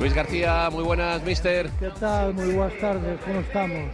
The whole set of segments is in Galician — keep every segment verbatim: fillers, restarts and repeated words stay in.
Luis García, moi buenas, mister. Que tal? Moi boas tardes, como estamos?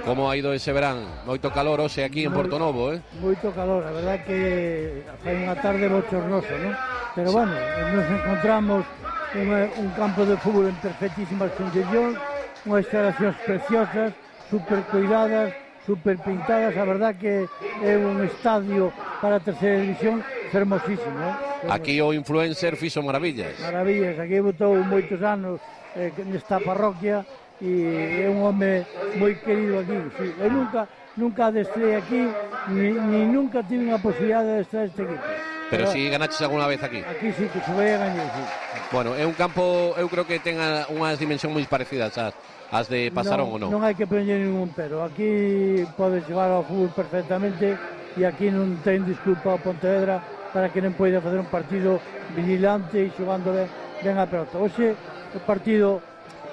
Como ha ido ese verán? Moito calor hoxe aquí en Porto Novo, eh? Moito calor, a verdad que fai unha tarde bochornosa, non? Pero sí. Bueno, nos encontramos en un campo de fútbol en perfectísimas condicións, unhas instalacións preciosas, super cuidadas, super pintadas, a verdad que é un estadio para a terceira división fermosísimo, eh? Aquí o influencer fixo maravillas. Maravillas, aquí botou moitos anos eh, nesta parroquia e é un home moi querido aquí, sí. Eu nunca nunca adestrei aquí, ni, ni nunca tive unha posibilidade de adestrar este equipo. Pero, Pero si ganaches alguna vez aquí? Aquí sí, que se vai a gañar, sí. Bueno, é un campo, eu creo que ten unhas dimensións moi parecidas ás, ás de Pasarón, ou non? Non hai que poñer ningún pero, aquí podes xogar ao fútbol perfectamente e aquí non ten disculpa o Pontevedra para que non poida facer un partido vigilante e xogando ben, ben a pelota. Oxe, o partido,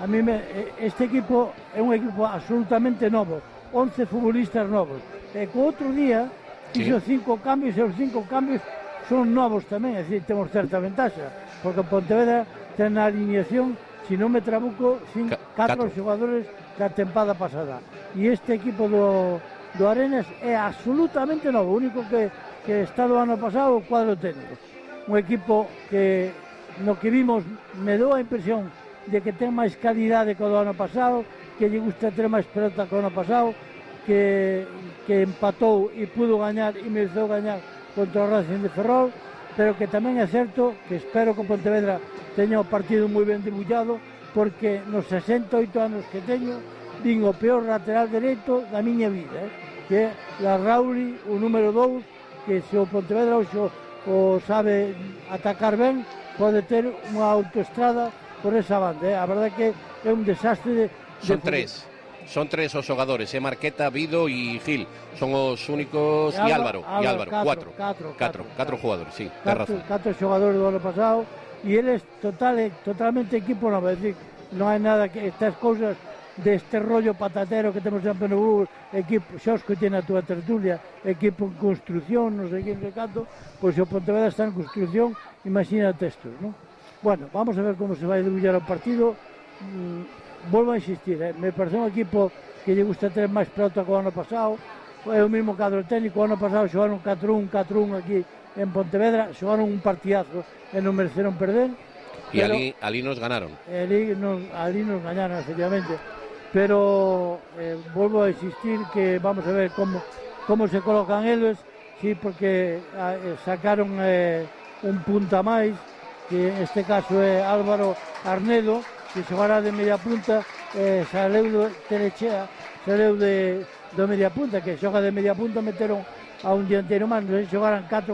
a mí me, este equipo é un equipo absolutamente novo, once futbolistas novos, e co outro día fixo sí. cinco cambios e os cinco cambios son novos tamén, é dicir, temos certa ventaxa, porque Pontevedra ten na alineación, se non me trabuco, cinco, catro xogadores da tempada pasada, e este equipo do, do Arenas é absolutamente novo, o único que que está do ano pasado o cuadro técnico, un equipo que no que vimos me dou a impresión de que ten máis calidade que o do ano pasado, que lle gusta ter máis pelota que o ano pasado, que, que empatou e pudo gañar e mereceu gañar contra o Racing de Ferrol, pero que tamén é certo que espero que o Pontevedra teña o partido moi ben debullado, porque nos sesenta e oito anos que teño vin o peor lateral dereito da miña vida, eh? Que é la Rauli, o número dous, que se o Pontevedra o, o sabe atacar ben, pode ter unha autoestrada por esa banda, eh? A verdade que é un desastre de, de son tres son tres os xogadores, é eh? Marqueta, Vido e Gil, son os únicos, e Álvaro, e Álvaro, catro, cuatro, catro, catro, catro jugadores, sí, ten razón. Catro xogadores do ano pasado e eles total, totalmente equipo novo, é dicir, non hai nada que estas cousas deste rollo patatero que temos sempre no Google, equipo, xa os que tiene a túa tertulia, equipo en construcción, non sei que, non sei canto, pois se o Pontevedra está en construcción, imagínate estos, non? Bueno, vamos a ver como se vai debullar o partido. Mm, volvo a insistir, eh? Me parece un equipo que lle gusta ter máis pelota que o ano pasado, é o mesmo cadro técnico, o ano pasado xogaron catro un, catro un aquí en Pontevedra, xogaron un partidazo e non mereceron perder. E ali, ali nos ganaron. Ali nos, ali nos gañaron, efectivamente. Pero eh, volvo a insistir que vamos a ver como, como se colocan eles, sí, porque eh, sacaron eh, un punta máis, que en este caso é Álvaro Arnedo, que xogará de media punta, eh, saleu do Telechea, saleu de, do media punta, que xoga de media punta, meteron a un dianteiro máis, xogaran catro